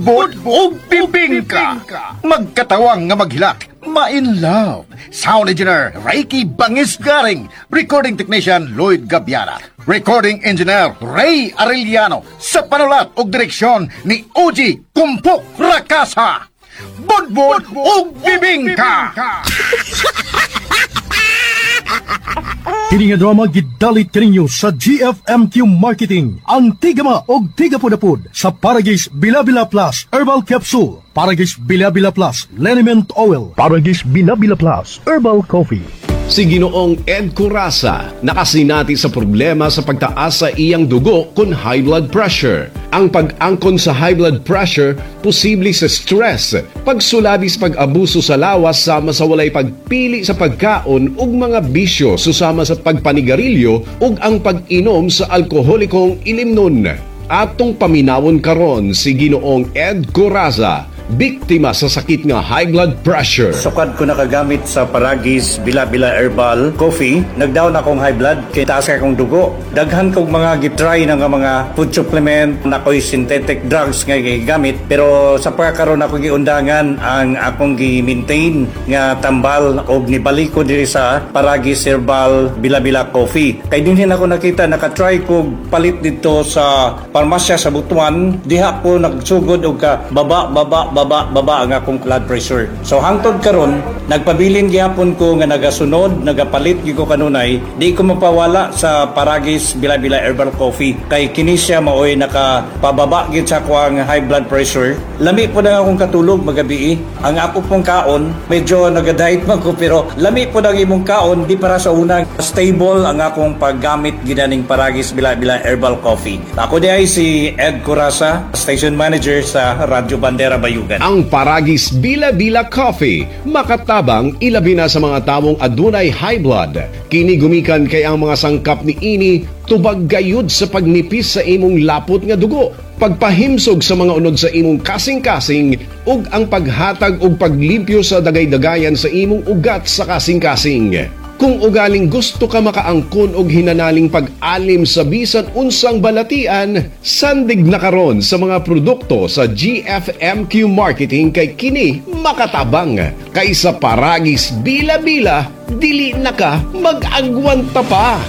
Budbud ug Bibingka. Magkatawang nga maghilak, ma-in love. Sound engineer Reiki Bangis Garing, recording technician Lloyd Gabiara, recording engineer Ray Arellano, sa panulat ug direksyon ni Oji Kumpok Rakasa. Budbud ug Bibingka. Kini nga drama gidalit kaninyo sa GFMQ Marketing, ang Tigama og Tigapudapud sa Paragis Bilabila Plus Herbal Capsule, Paragis Bilabila Plus Liniment Oil, Paragis Bilabila Plus Herbal Coffee. Si Ginoong Ed Curasa nakasinati sa problema sa pagtaas sa iyang dugo kon high blood pressure. Ang pag-angkon sa high blood pressure posible sa stress, pagsulabi sa pag-abuso sa lawas sama sa walay pagpili sa pagkaon ug mga bisyo susama sa pagpanigarilyo ug ang pag-inom sa alkoholikong ilimnon. Atong paminawon karon si Ginoong Ed Coraza, biktima sa sakit nga high blood pressure. Sukad ko nakagamit sa Paragis Bila-Bila Herbal Coffee, nagdown akong high blood kay taas kay akong dugo. Daghan kog mga gitry na nga mga food supplement, na ko'y synthetic drugs nga gigamit, pero sa pagkakaroon ako giundangan ang akong gi-maintain nga tambal og nibalik ko diri sa Paragis Herbal Bila-Bila Coffee. Kay dinhin ako nakita, nakatry kog palit dito sa parmasya sa Butuan, diha ko nagsugod og ka baba baba baba baba ang akong blood pressure. So hangtod karon nagpabilin gihapon ko nga nagasunod, nagapalit gyud ko kanunay, di ko mapawala sa Paragis Bila-Bila Herbal Coffee kay kini siya maoy nakapababa gyud sa akong high blood pressure. Lami po na akong katulog magabi. Ang ako pong kaon, medyo nagadiet man ko pero lami po ang imong kaon di para sa una. Stable ang akong paggamit ginaning Paragis Bila-Bila Herbal Coffee. Ako di ay si Ed Curasa, station manager sa Radyo Bandera Bayugan. Ang Paragis Bila Bila Coffee, makatabang ilabi na sa mga tawong adunay high blood. Kini gumikan kay ang mga sangkap ni ini tubag gayud sa pagnipis sa imong lapot nga dugo, pagpahimsog sa mga unod sa imong kasing-kasing ug ang paghatag og paglimpyo sa dagay-dagayan sa imong ugat sa kasing-kasing. Kung ugaling gusto ka makaangkon og hinanaling pag-alim sa bisan unsang balatian, sandig na karon sa mga produkto sa GFMQ Marketing kay kini makatabang. Kaysa Paragis Bila-bila, dili na ka mag-agwanta pa.